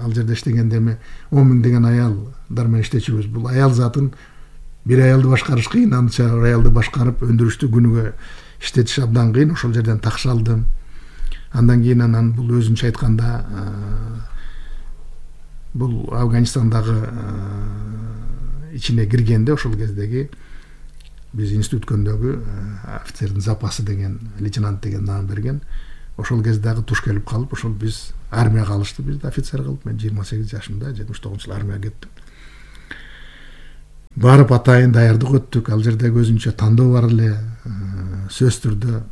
Ал жерде иштегенде эми 10 000 деген аялдар менен иштечүбүз. Бул аял затын бир аялды башкарыш кыйын, анча аялды башкарып өндүрүштү күнүгө иштетиш абдан кыйын. Ошол жерден такшалдым. Андан кийин анан бул өзүнчө айтканда бул Афганистандагы ичине киргенде, ошол кездеги биз институт өткөндөгү офицердин запасы деген, лейтенант деген наам берген. ошол кезде дагы туш келип калып, ошол биз армияга алышты, бизди офицер кылып. Мен 28 жашымда 79-жылы армияга кеттим. Барып атайын даярдык өттүк. Ал жерде өзүнчө тандоо бар эле. Сөзсүз түрдө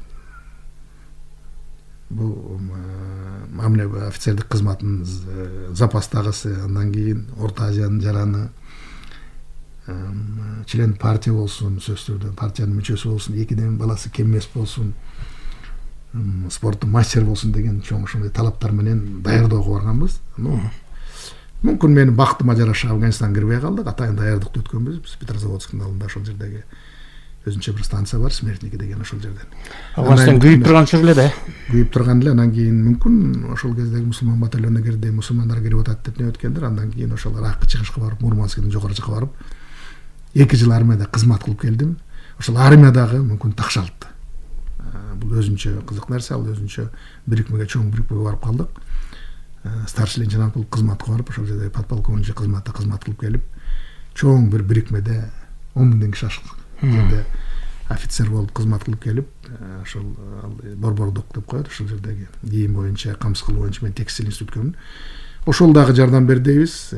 бул мамиле офицердик кызматтын запастагысы, андан кийин Орто Азиянын жараны, член партия болсун, сөзсүз түрдө партиянын мүчөсү болсун, экиден баласы кем эмес болсун, спорттун мастер болсун деген чоң ошондой талаптар менен даярдоого барганбыз. Мүмкүн менин бактыма жараша Афганистанга кирбей калдык, атайын даярдыкты өткөнбүз. Биз Петрозаводскдын алдында ошол жердеги өзүнчө бир станция бар, Смертники деген, ошол жерден. Афганистан күйүп турган чор эле да. Күйүп турган эле, андан кийин мүмкүн ошол кездеги мусулман батальонуна кирди, мусулмандар кирип атат деп не өткөндөр, андан кийин ошол Иракка чыгышка барып, Мурманскдын жогору жакка барып 2 жыл армияда кызмат кылып келдим. Ошол армиядагы мүмкүн такшалтты. Бул өзүнчө кызык нерсе, ал өзүнчө бирикмеге, чоң бирикмеге барып калдык. Старший лейтенант болуп кызматка барып, ошол жерде подполковник кызматта кызмат кылып келип, чоң бир бирикмеде 10 000 киши ашык жерде офицер болуп кызмат кылып келип, ошол борбордук деп коет, ошол жердеги кийим боюнча, камсыз кылуу боюнча мен текстиль институткөмүн. Ошол дагы жардам бердибиз.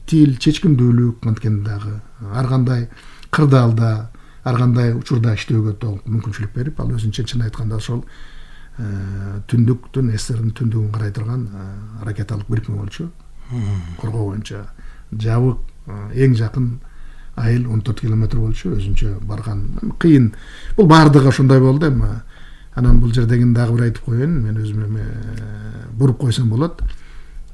Тил, чечкиндүүлүк анткени дагы ар кандай кырдаалда, ар кандай учурда иштөөгө толук мүмкүнчүлүк берип, ал өзүнчө чын айтканда ошол түндүктүн, СССРдин түндүгүн карай турган ракеталык бирикме болчу. Коргоо боюнча жабык эң жакын айыл 14 километр болчу, өзүнчө барган кыйын. Бул баардыгы ошондой болду эми. Анан бул жердегин дагы бир айтып коеюн, мен өзүмө буруп койсом болот.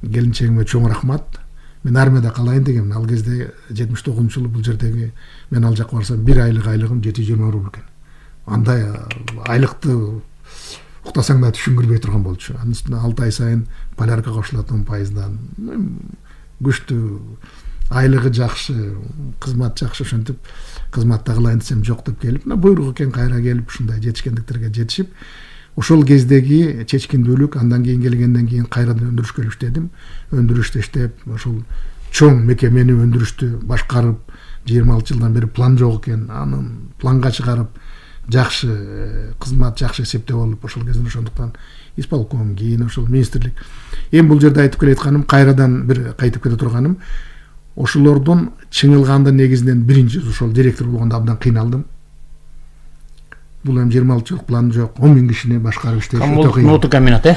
Келинчегиме чоң рахмат. Мен армияда калайын дегем. Ал кезде 79-жылы бул жердеги мен ал жакка барсам 1 айлык айлыгым 720 рубль экен. Андай айлыкты уктасаң да түшүнгүрбөй турган болчу. Анын үстүнө 6 ай сайын полярка кошулат 10%дан. Күчтүү, айлыгы жакшы, кызмат жакшы, ошентип кызматта кылайын десем жок деп келип, буйрук экен кайра келип ушундай жетишкендиктерге жетишип, ошол кездеги чечкиндүүлүк, андан кийин келгенден кийин кайрадан өндүрүшкө иштедим. Өндүрүштө иштеп, ошол чоң мекемени өндүрүштү башкарып, 26 жылдан бери план жок экен, анын планга чыгарып, жакшы кызмат, жакшы эсептөө болуп, ошол кезде ошондуктан исполком, кийин ошол министрлик. Эми бул жерде айтып келатканым, кайрадан бир кайтып кете турганым, ошолордун чыңылгандын негизинен биринчи ошол директор болгондо абдан кыйналдым. Бул эми 26 жыл план жок, 10 000 кишини башкарып иштеш өтө кыйын. Ноту комбинат,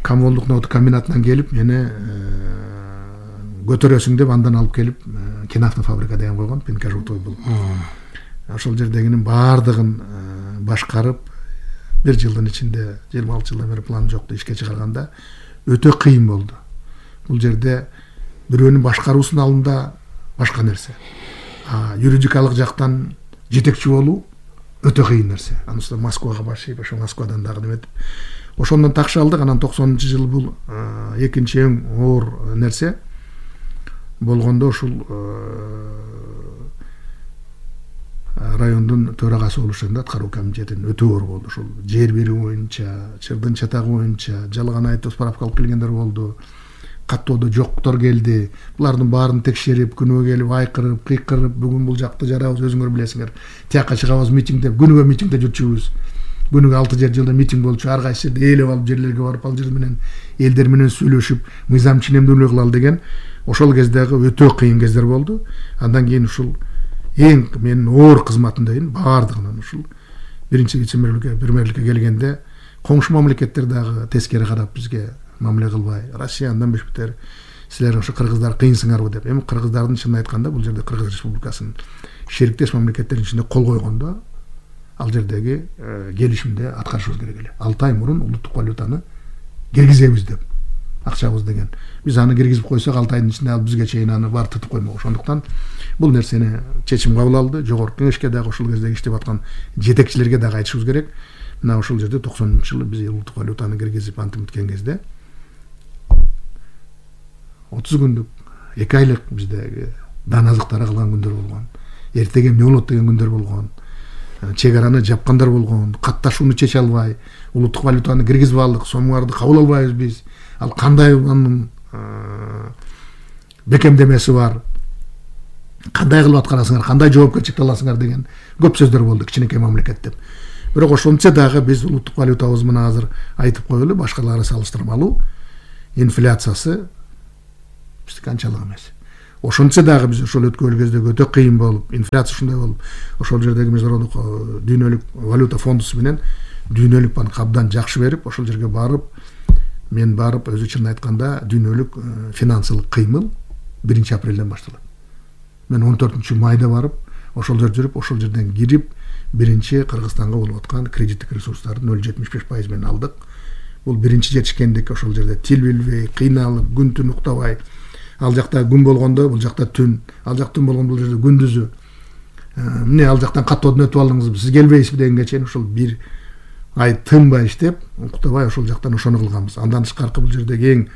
Камолдук ноту комбинатынан келип, мени көтөрөсүң деп андан алып келип, киноавтофабрика деген койгон, Пинкажуртой бул. Ошол жердегинин баардыгын башкарып, 1 жылдын ичинде 26 жылдан бери план жокту ишке чыгарганда өтө кыйын болду. Бул жерде бирөөнүн башкаруусунун алдында башка нерсе. Юридикалык жактан жетекчи болуу өтө кыйын нерсе. Анын үстүнө Москвага башып, ошо Москвадан дагы неметип, ошондон такшы алдык. Анан 90-жылы бул экинчи эң оор нерсе болгондо ушул райондун төрагасы болушунда аткаруу комитетинин өтө оор болду. Ушул жер берүү боюнча, чырдын чатагы боюнча жалган айтып справка алып келгендер болду. Каттоодо жоктор келди. Булардын баарын текшерип, күнөө келип айкырып, кыйкырып, бүгүн бул жакты жарабыз, өзүңөр билесиңер. Тияка чыгабыз митинг деп, күнүгө митингде жүрчүбүз. Күнүгө 6 жылда митинг болчу, ар кайсы жерде ээлеп алып, жерлерге барып, ал жер менен элдер менен сүйлөшүп, мыйзам ченемдүүлүк кылалы деген ошол кездеги өтө кыйын кездер болду. Андан кийин ушул эң менин оор кызматым дейин баардыгынан ушул биринчи вице-премьерликке келгенде коңшу мамлекеттер дагы тескери карап бизге мамиле кылбай, Россия андан бешбетер, силер ошо кыргыздар кыйынсыңарбы деп. Эми кыргыздардын чынын айтканда бул жерде Кыргыз Республикасынын шериктеш мамлекеттердин ичинде кол койгондо ал жердеги келишимде аткарышыбыз керек эле. 6 ай мурун улуттук валютаны киргизебиз деп акчабыз деген. Биз аны киргизип койсок 6 айдын ичинде ал бизге чейин аны бар тытып коймок. Ошондуктан бул нерсени чечим кабыл алды. Жогорку кеңешке дагы ошол кездеги иштеп аткан жетекчилерге дагы айтышыбыз керек. Мына ошол жерде 90-жылы биз улуттук валютаны киргизип антим өткөн кезде 30 күндүк, 2 айлык бизде дан азыктары калган күндөр болгон. Эртеге эмне болот деген күндөр болгон. Чек араны жапкандар болгон. Катташууну чече албай, улуттук валютаны киргизип алдык, сомдарды кабыл албайбыз биз. Ал кандай анын бекемдемеси бар? Кандай кылып аткарасыңар, кандай жоопкерчиликти аласыңар деген көп сөздөр болду кичинекей мамлекет деп. Бирок ошончо дагы биз улуттук валютабыз менен азыр айтып коелу, башкаларга салыштырмалуу инфляциясы биздики анчалык эмес. Ошончо дагы биз ошол өткөн кезде өтө кыйын болуп, инфляция ушундай болуп, ошол жердеги международдук дүйнөлүк валюта фондусу менен дүйнөлүк банк абдан жакшы берип, ошол жерге барып, мен барып, өзү чынын айтканда дүйнөлүк финансылык кыймыл 1 апрелден башталат. Мен 14 майда барып, ошол жерде жүрүп, ошол жерден кирип, биринчи Кыргызстанга болуп аткан кредиттик ресурстарды 0,75% менен алдык. Бул биринчи жетишкендик, ошол жерде тил билбей, кыйналып, күн түн уктабай, ал жакта күн болгондо, бул жакта түн, ал жакта түн болгондо бул жерде күндүзү. Эмне ал жактан катуу өтүп алдыңызбы, сиз келбейсизби дегенге чейин ошол 1 ай тынбай иштеп, уктабай ошол жактан ошону кылганбыз. Андан тышкаркы бул жердеги эң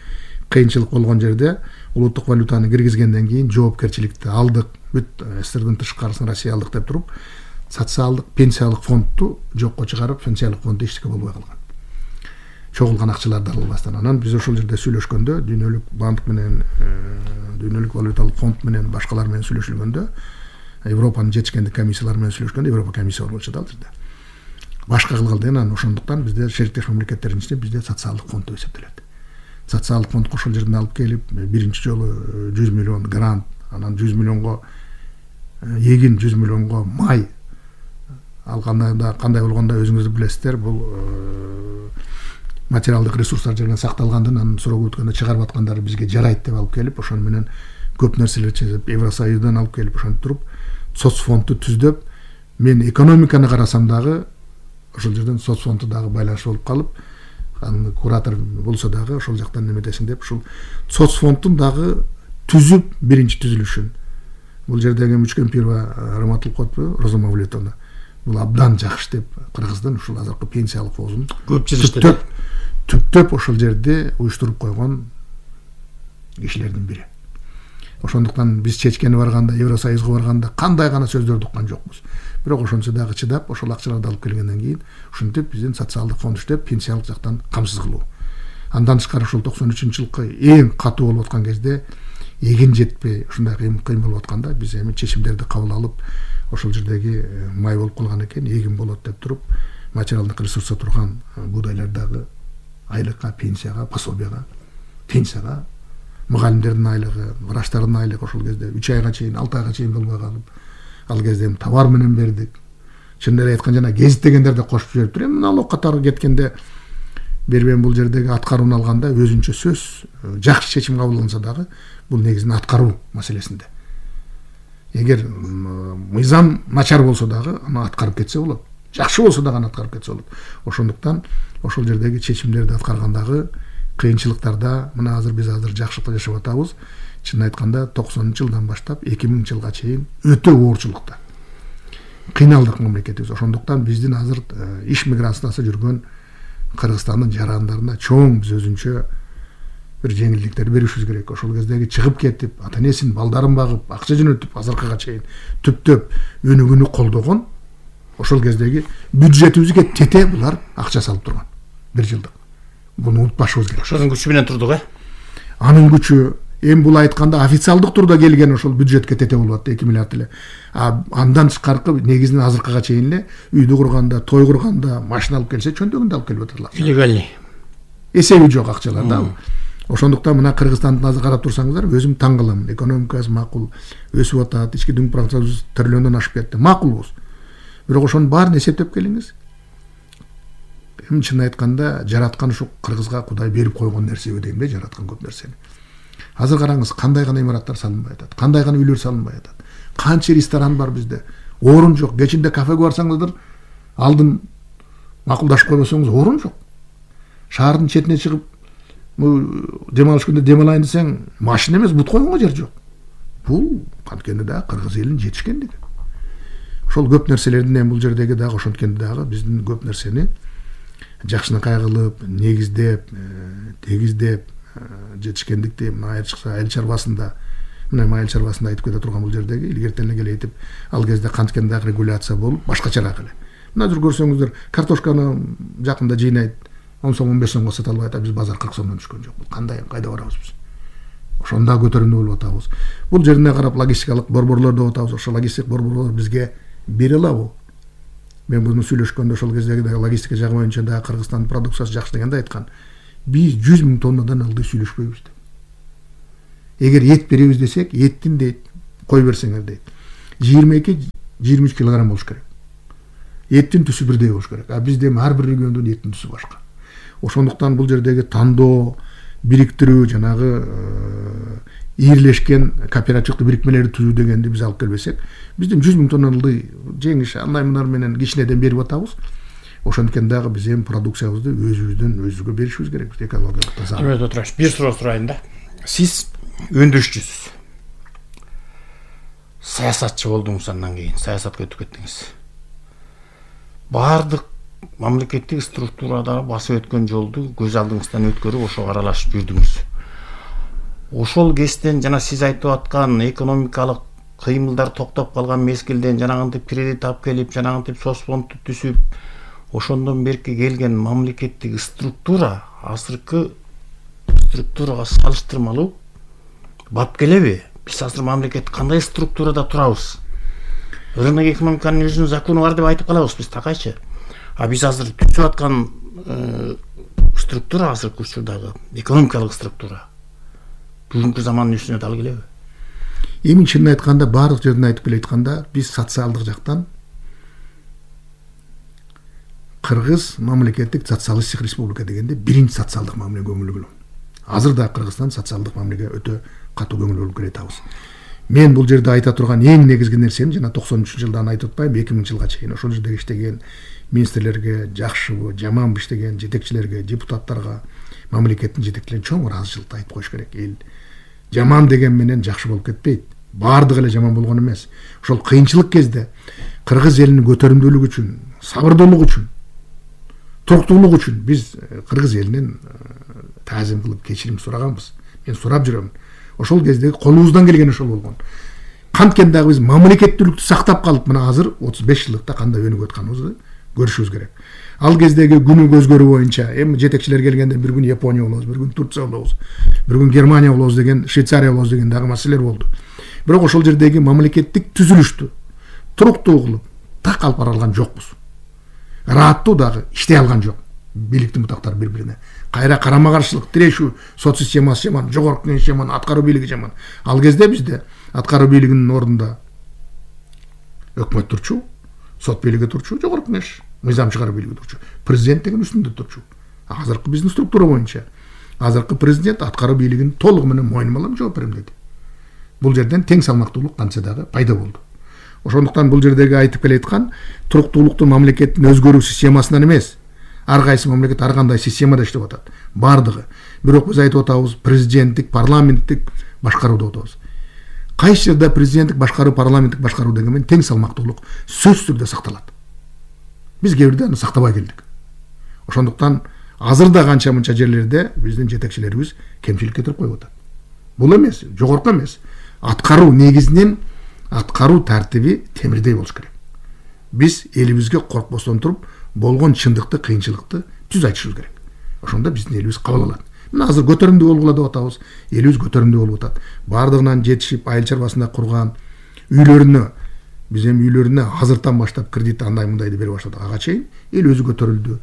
кыйынчылык болгон жерде улуттук валютаны киргизгенден кийин жоопкерчиликти алдык. Бүт СССРдин тышкарысын Россия алдык деп туруп, социалдык пенсиялык фондду жокко чыгарып, пенсиялык фонд эчтеке болбой калган. Чогулган акчаларды албастан. Анан биз ошол жерде сүйлөшкөндө, дүйнөлүк банк менен, дүйнөлүк валюталык фонд менен, башкалар менен сүйлөшүлгөндө, Европанын жетишкендик комиссиялары менен сүйлөшкөндө, Европа комиссия болчу да ал жерде. Башка кылгыл деген, анан ошондуктан бизде шериктеш мамлекеттердин ичинде бизде социалдык фонд деп эсептелет. Социалдык фонд ошол жерден алып келип, биринчи жолу 100 миллион грант, анан 100 миллионго эгин, 100 миллионго май алганда кандай болгондо өзүңүз билесиздер, бул материалдык ресурстар жерден сакталгандан анан суроо өткөндө чыгарып аткандары бизге жарайт деп алып келип, ошону менен көп нерселер чечип, Евросоюздан алып келип ошентип туруп, соцфондду түздөп, мен экономиканы карасам дагы ошол жерден соцфондду дагы байланыш болуп калып, анын куратор болсо дагы ошол жактан неметесиң деп, ушул соцфонддун дагы түзүп биринчи түзүлүшүн. Бул жердеги Мучкемпирова Раматулкотпу, Роза Мавлетовна, бул абдан жакшы деп Кыргыздын ушул азыркы пенсиялык фондун көп жыштеп түптөп ошол жерде уюштуруп койгон кишилердин бири. Ошондуктан биз чечкени барганда, Евросоюзга барганда кандай гана сөздөрдү уккан жокпуз. Бирок ошончо дагы чыдап, ошол акчаларды алып келгенден кийин ушинтип биздин социалдык фонд иштеп, пенсиялык жактан камсыз кылуу. Андан тышкары ошол 93-жылкы эң катуу болуп аткан кезде эгин жетпей, ушундай кыйын болуп атканда биз эми чечимдерди кабыл алып, ошол жердеги май болуп калган экен, эгин болот деп туруп, материалдык ресурсса турган буудайлардагы айлыкка, пенсияга, пособияга, пенсияга, мугалимдердин айлыгы, врачтардын айлыгы ошол кезде 3 айга чейин, 6 айга чейин болбой калып, ал кезде товар менен бердик. Чындап айтканда жана гезит дегендерди кошуп жибериптир. Эми налог катары кеткенде бербен бул жердеги аткарууну алганда өзүнчө сөз, жакшы чечим кабыл алынса дагы бул негизинен аткаруу маселесинде. Эгер мыйзам начар болсо дагы аны аткарып кетсе болот. Жакшы болсо дагы аны аткарып кетсе болот. Ошондуктан ошол жердеги чечимдерди аткаргандагы кыйынчылыктарда мына биз азыр жакшылыкта жашап атабыз. Чын айтканда 90-жылдан баштап 2000-жылга чейин өтө оорчулукта кыйналдык мамлекетибиз. Ошондуктан биздин азыр иш миграциясы жүргөн Кыргызстандын жарандарына чоң биз өзүнчө бир жеңилдиктер беришибиз керек. Ошол кездеги чыгып кетип, ата-энесин, балдарын багып, акча жөнөтүп, азыркыга чейин түптөп өнүгүүнү колдогон ошол кездеги бюджетибизге тете булар акча салып турган. 1 жылдык. Буну унутпашыбыз керек. Ошонун күчү менен турдук, Анын күчү эми бул айтканда официалдык турда келген ошол бюджетке тете болуп атты 2 миллиард эле. Андан тышкаркы негизинен азыркыга чейин эле үйдү курганда, той курганда, машина алып келсе чөнтөгүндө алып келип атырлар. Легальный. Эсеби жок акчалар да. Ошондуктан мына Кыргызстанды азыр карап турсаңыздар, өзүм таң калам. Экономикасы макул, өсүп атат, ички дүң продукциясы триллиондон ашып кетти. Макулбуз. Бирок ошонун баарын эсептеп келиңиз. Эми чын айтканда жараткан ушу Кыргызга Кудай берип койгон нерсеби дейм да, жараткан көп нерсени. Азыр караңыз, кандай гана имараттар салынбай атат, кандай гана үйлөр салынбай атат. Канча ресторан бар бизде. Орун жок. Кечинде кафеге барсаңыздар, алдын макулдашып койбосоңуз орун жок. Шаардын четине чыгып, дем алыш күндө дем алайын десең, машина эмес, бут койгонго жер жок. Бул канткенде да Кыргыз элинин жетишкендиги. Ошол көп нерселердин эми бул жердеги дагы ошонткенде дагы биздин көп нерсени жакшынакай кылып, негиздеп, тегиздеп жетишкендикти айрыкча айыл чарбасында, мына айыл чарбасында айтып кете турган бул жердеги илгертен эле келе айтып, ал кезде канткенде дагы регуляция болуп, башкачараак эле. Мына азыр көрсөңүздөр, картошканы жакында жыйнайт 10 сом 15 сомго сата албай атат, биз базар 40 сомдон түшкөн жок. Кандай, кайда барабыз биз? Ошондо көтөрүмдүү болуп атабыз. Бул жерине карап логистикалык борборлор деп атабыз. Ошо логистик борборлор бизге бере алабы? Мен буну сүйлөшкөндө ошол кездеги логистика жагы боюнча да Кыргызстандын продукциясы жакшы дегенде айткан. Биз 100 000 тоннадан ылдый сүйлөшпөйбүз деп. Эгер эт беребиз десек, эттин дейт, кой берсеңер дейт. 22-23 килограмм болуш керек. Эттин түсү бирдей болуш керек. А бизде ар бир региондун эттин түсү башка. Ошондуктан бул жердеги тандоо, бириктирүү, жанагы ийирлешкен кооперативдик бирикмелерди түзүү дегенди биз алып келбесек, бизден 100 000 тонна ылдый жеңиш андай мынар менен кичинеден берип атабыз. Ошондуктан дагы биз эми продукциябызды өзүбүзгө беришибиз керек. Экологиялык таза. Албетте тураш. Бир суроо сурайын да. Сиз өндүрүшчүсүз. Саясатчы болдуңуз, андан кийин саясатка өтүп кеттиңиз. Бардык мамлекеттик структурада басып өткөн жолду көз алдыңыздан өткөрүп ошого аралашып жүрдүңүз. Ошол кезден жана сиз айтып аткан экономикалык кыймылдар токтоп калган мезгилден жанагынтип кредит алып келип, жанагынтип соцфондду түзүп, ошондон берки келген мамлекеттик структура азыркы структурага салыштырмалуу бап келеби? Биз азыр мамлекет кандай структурада турабыз? Рынок экономиканын өзүнүн закону бар деп айтып калабыз биз такайчы. А биз азыр түзүп аткан структура азыркы учурдагы экономикалык структура бүгүнкү замандын үстүнө дал келеби? Эми чынын айтканда, баардык жерден айтып келе айтканда, биз социалдык жактан Кыргыз мамлекеттик социалисттик республика дегенде биринчи социалдык мамилеге көңүл бөлөм. Азыр да Кыргызстан социалдык мамилеге өтө катуу көңүл бөлүп келатабыз. Мен бул жерде айта турган эң негизги нерсем жана 93-жылдан айтып атпайм, 2000-жылга чейин ошол жерде иштеген министрлерге, жакшыбы, жаманбы иштеген жетекчилерге, депутаттарга, мамлекеттин жетекчилерине чоң ыраазычылыкты айтып коюш керек. Эл жаман деген менен жакшы болуп кетпейт. Бардыгы эле жаман болгон эмес. Ошол кыйынчылык кезде Кыргыз элинин көтөрүмдүүлүгү үчүн, сабырдуулугу үчүн, туруктуулугу үчүн биз Кыргыз элинен таазим кылып кечирим сураганбыз. Мен сурап жүрөм. Ошол кезде колубуздан келген ошол болгон. Канткен дагы биз мамлекеттүүлүктү сактап калып, мына азыр 35 жылдыкта кандай өнүгүп атканыбызды көрүшүбүз керек. Ал кездеги күнү көз көрүү боюнча эми жетекчилер келгенде бир күн Япония болобуз, бир күн Турция болобуз, бир күн Германия болобуз деген, Швейцария болобуз деген дагы маселелер болду. Бирок ошол жердеги мамлекеттик түзүлүштү туруктуу кылып так алып бара алган жокпуз. Ырааттуу дагы иштей алган жок. Бийликтин бутактары бири-бирине кайра карама-каршылык, тирешүү, сот системасы жаман, жогорку кеңеш жаман, аткаруу бийлиги жаман. Ал кезде бизде аткаруу бийлигинин ордунда өкмөт турчу, сот бийлиги турчу, жогорку кеңеш, мыйзам чыгаруу бийлиги турчу, президент деген үстүндө турчу. Азыркы биздин структура боюнча азыркы президент аткаруу бийлигин толугу менен мойнума алам, жооп берем деди. Бул жерден тең салмактуулук кантса дагы пайда болду. Ошондуктан бул жердеги айтып келе айткан туруктуулукту мамлекеттин өзгөрүү системасынан эмес, ар кайсы мамлекет ар кандай системада иштеп атат. Бардыгы. Бирок биз айтып атабыз, президенттик, парламенттик башкаруу деп атабыз. Кайсы жерде президенттик башкаруу, парламенттик башкаруу деген менен тең салмактуулук сөзсүз түрдө сакталат. Биз кээ бирде аны сактабай келдик. Ошондуктан азыр да канча-мынча жерлерде биздин жетекчилерибиз кемчилик кетирип коюп атат. Бул эмес, жогорку эмес. Аткаруу негизинен аткаруу тартиби темирдей болуш керек. Биз элибизге коркпостон туруп болгон чындыкты, кыйынчылыкты түз айтышыбыз керек. Ошондо биздин элибиз кабыл алат. Мына азыр көтөрүмдүү болгула деп атабыз. Элибиз көтөрүмдүү болуп атат. Бардыгынан жетишип, айыл чарбасында курган үйлөрүнө, биз эми үйлөрүнө азыртан баштап кредит андай мындай деп бере баштадык. Ага чейин эл өзү көтөрүлдү.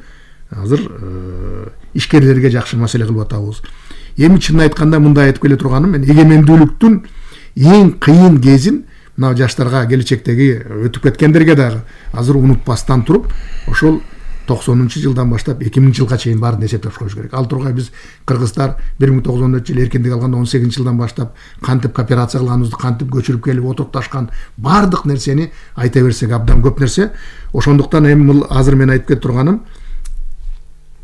Азыр ишкерлерге жакшы маселе кылып атабыз. Эми чынын айтканда мындай айтып келе турганым, мен эгемендүүлүктүн эң кыйын кезин мына жаштарга, келечектеги өтүп кеткендерге дагы азыр унутпастан туруп, ошол 90-жылдан баштап 2000-жылга чейин баарын эсептеп коюш керек. Ал тургай биз кыргыздар 1914-жыл эркиндик алганда 18-жылдан баштап кантип кооперация кылганыбызды, кантип көчүрүп келип отурукташкан баардык нерсени айта берсек абдан көп нерсе. Ошондуктан эми азыр мен айтып кетип турганым,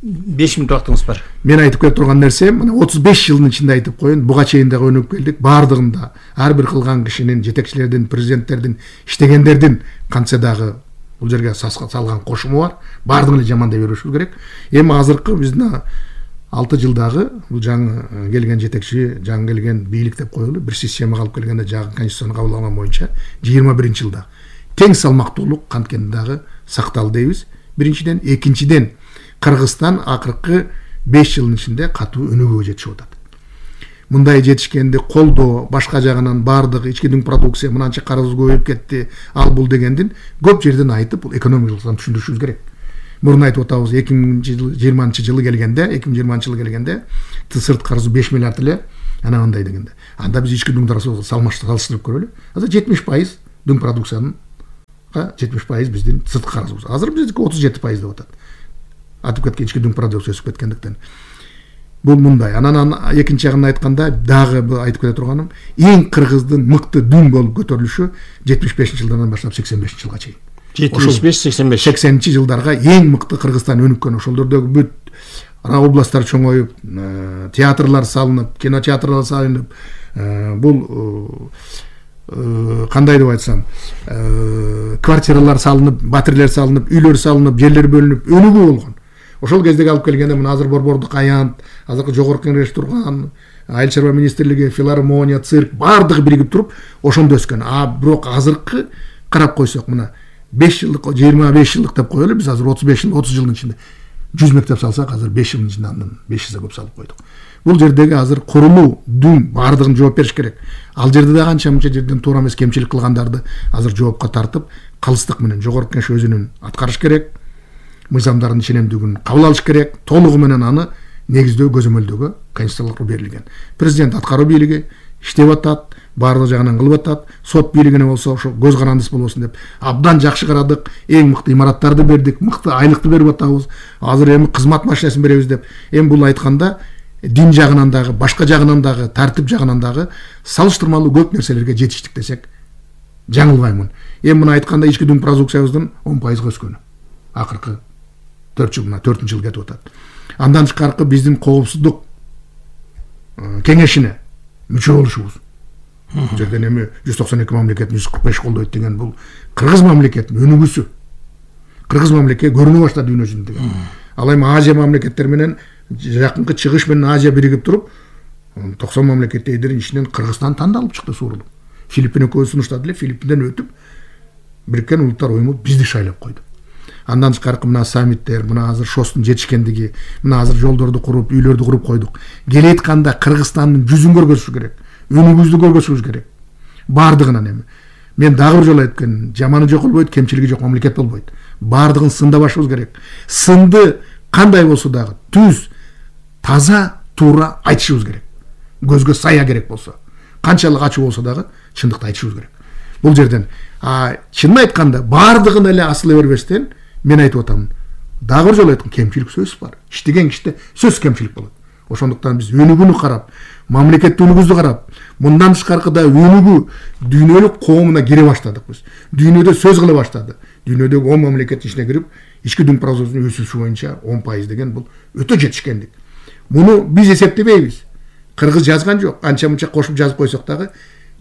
5 мүнөт убактыңыз бар. Мен айтып кетип турган нерсем, мына 35 жылдын ичинде айтып коюн, буга чейин дагы өнүгүп келдик. Бардыгында ар бир кылган кишинин, жетекчилердин, президенттердин, иштегендердин кантса дагы бул жерге салган кошуму бар. Бардыгын эле жаман деп беришибиз керек. Эми азыркы биздин 6 жылдагы бул жаңы келген жетекчи, жаңы келген бийлик деп коелу, бир системага алып келгенде жаңы конституцияны кабыл алган боюнча 21-жылда тең салмактуулук канткен дагы сакталды дейбиз. Биринчиден, экинчиден Кыргызстан акыркы 5 жылдын ичинде катуу өнүгүүгө жетишип атат. мындай жетишкенди колдоо, башка жагынан баардык ички дүң продукция мынанча карыз көбөйүп кетти, ал бул дегендин көп жерден айтып, бул экономикалыктан түшүндүрүшүбүз керек. Мурун айтып атабыз 2020 жылы келгенде сырт карызы 5 миллиард эле ана андай дегенде. Анда биз ички дүң салыштырып көрөлү. Азыр 70% дүң продукциянын 70% биздин сырт карызыбыз. Азыр биздики 37% деп атат. Атып кеткен ички дүң продукция өсүп кеткендиктен. Бул мындай. Анан экинчи жагын айтканда дагы айтып кете турганым, эң кыргыздын мыкты дүң болуп көтөрүлүшү 75-жылдардан баштап 85-жылга чейин. 75-85 жылдарга эң мыкты Кыргызстан өнүккөн. Ошолдордогу бүт областтар чоңоюп, театрлар салынып, кинотеатрлар салынып, бул кандай деп айтсам, квартиралар салынып, батирлер салынып, үйлөр салынып, жерлер бөлүнүп, өнүгүү болгон. Ошол кездеги алып келгенде мына азыр Борбордук аянт, азыркы жогорку кеңеш турган, Айыл чарба министрлиги, филармония, цирк баардыгы биригип туруп ошондо өскөн. Бирок азыркы карап койсок, мына 5 жылдык, 25 жылдык деп коелу, биз азыр 35 жыл, 30 жылдын ичинде 100 мектеп салсак, азыр 5 жылдын ичинде андан 5 эсе көп салып койдук. Бул жердеги азыр курулуу дүң баардыгын жооп бериш керек. Ал жерде да канча-мынча жерден туура эмес кемчилик кылгандарды азыр жоопко тартып, калыстык менен жогорку кеңеш өзүнүн аткарыш керек. Мыйзамдардын ченемдүүлүгүн кабыл алыш керек. Толугу менен аны негиздөө көзөмөлдөгө конституциялык берилген. Президент аткаруу бийлиги иштеп атат, баардык жагынан кылып атат. Сот бийлигине болсо ошо көз карандыс болбосун деп абдан жакшы карадык. Эң мыкты имараттарды бердик, мыкты айлыкты берип атабыз. Азыр эми кызмат машинесин беребиз деп. Эми бул айтканда дин жагынан дагы, башка жагынан дагы, тартип жагынан дагы салыштырмалуу көп нерселерге жетиштик десек жаңылбаймын. Эми мына айтканда ички дүң продукциябыздын 10% өскөнү. Акыркы 4 жыл, мына 4-жыл кетип атат. Андан тышкаркы биздин коопсуздук кеңешине мүчө болушубуз. Бул жерден эми 192 мамлекеттин 145 колдойт деген бул кыргыз мамлекетинин өнүгүүсү. Кыргыз мамлекети көрүнө баштады дүйнө жүзүндө деген. Ал эми Азия мамлекеттери менен жакынкы чыгыш менен Азия биригип туруп 90 мамлекеттердин ичинен Кыргызстан тандалып чыкты суурулуп. Филиппин экөөбүз сунуштады эле, Филиппинден өтүп Бириккен Улуттар уюму бизди шайлап койду. Андан тышкаркы мына саммиттер, мына азыр ШОСтун жетишкендиги, мына азыр жолдорду куруп, үйлөрдү куруп койдук. Келетканда Кыргызстандын жүзүн көргөзүш керек, өнүгүүбүздү көргөзүш керек. Баардыгынан эми. Мен дагы бир жолу айткан, жаманы жок болбойт, кемчилиги жок мамлекет болбойт. Баардыгын сындабашыбыз керек. Сынды кандай болсо дагы түз, таза, туура айтышыбыз керек. Көзгө сая керек болсо, канчалык ачуу болсо дагы чындыкты айтышыбыз керек. Бул жерден чынын айтканда баардыгын эле асыла бербестен мен айтып атам. Дагы бир жолу айткам, кемчилик сөз бар. Иштеген кишиде сөз кемчилик болот. Ошондуктан биз өнүгүүнү карап, мамлекеттик өнүгүүбүздү карап, мындан тышкаркы да өнүгүү дүйнөлүк коомуна кире баштадык биз. Дүйнөдө сөз кыла баштады. Дүйнөдөгү 10 мамлекеттин ичине кирип, ички дүң продукциясынын өсүшү боюнча 10% деген бул өтө жетишкендик. Муну биз эсептебейбиз. Кыргыз жазган жок. Анча-мынча кошуп жазып койсок дагы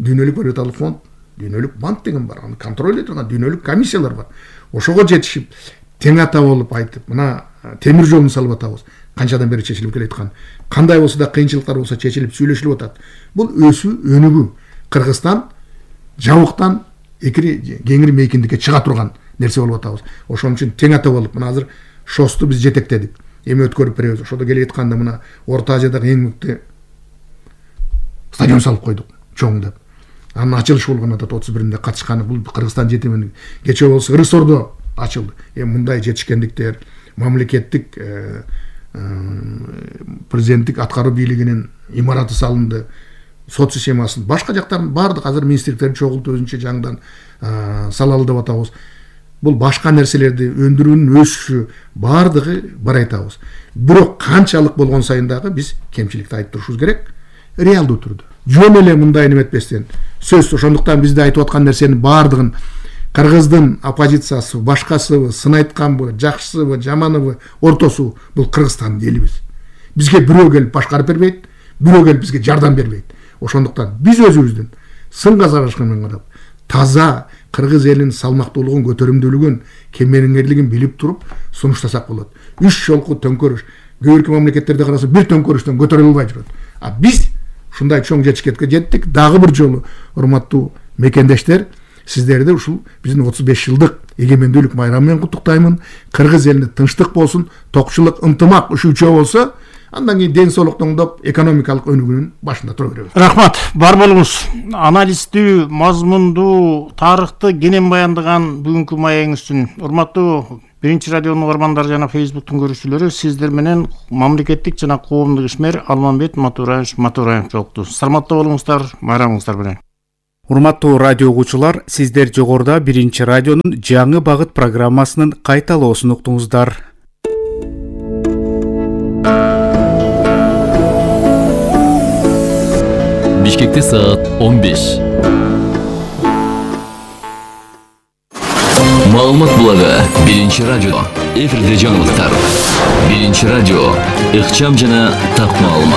дүйнөлүк валюталык фонд, дүйнөлүк банк деген бар. Аны контроль турган дүйнөлүк комиссиялар бар. Ошого жетишип, тең ата болуп айтып, мына темир жолун салып атабыз. Канчадан бери чечилип келаткан. Кандай болсо да кыйынчылыктар болсо чечилип сүйлөшүлүп атат. Бул өсүү, өнүгүү. Кыргызстан жабыктан кеңири мейкиндикке чыга турган нерсе болуп атабыз. Ошон үчүн тең ата болуп, мына азыр ШОСту биз жетектедик. Эми өткөрүп беребиз. Ошодо келатканда мына Орто Азиядагы эң мыкты стадион салып койдук, чоң деп. Анын ачылышы болгон атат 31-нде катышканы. Бул Кыргызстан жетиминин кече болсо Ырысордо ачылды. Эми мындай жетишкендиктер, мамлекеттик президенттик аткаруу бийлигинин имараты салынды, сот системасын, башка жактарын баардык азыр министрликтерди чогултуп өзүнчө жаңдан салалы деп атабыз. Бул башка нерселерди өндүрүүнүн өсүшү баардыгы бар айтабыз. Бирок канчалык болгон сайын дагы биз кемчиликти айтып турушубуз керек, реалдуу түрдө. Жөн эле мындай неметпестен сөз. Ошондуктан бизде айтып аткан нерсенин баардыгын Кыргыздын оппозициясы, башкасыбы, сын айтканбы, жакшысыбы, жаманыбы, ортосу бул Кыргызстандын элибиз. Бизге бирөө келип башкарып бербейт, бирөө келип бизге жардам бербейт. Ошондуктан биз өзүбүздүн сынга сарашканын карап, таза кыргыз элинин салмактуулугун, көтөрүмдүүлүгүн, кемеңгерлигин билип туруп сунуштасак болот. 3 жолку төңкөрүш. Көбүркү мамлекеттерде караса бир төңкөрүштөн көтөрүлө албай жүрөт. Биз ушундай чоң жетишкенге жеттик. Дагы бир жолу урматтуу мекендештер, сиздерди ушул биздин 35 жылдык эгемендүүлүк майрамы менен куттуктаймын. Кыргыз элине тынчтык болсун, токчулук, ынтымак үшүүчү болсо, андан кийин ден соолукту оңдоп экономикалык өнүгүүнүн башында тура беребиз. Рахмат, бар болуңуз. Анализдүү, мазмундуу, тарыхты кенен баяндаган бүгүнкү маегиңиз үчүн урматтуу Биринчи радионун угармандары жана Фейсбуктун көрүүчүлөрү, сиздер менен мамлекеттик жана коомдук ишмер Алмамбет Матураев жолукту. Саламатта болуңуздар, байрамыңыздар менен. Урматтуу радио угуучулар, сиздер жогоруда Биринчи радионун жаңы багыт программасынын кайталоосун уктуңуздар. Бишкекте саат 15. Маалымат булагы Биринчи радио. Эфирде жаңылыктар. Биринчи радио. Ыкчам жана так маалымат.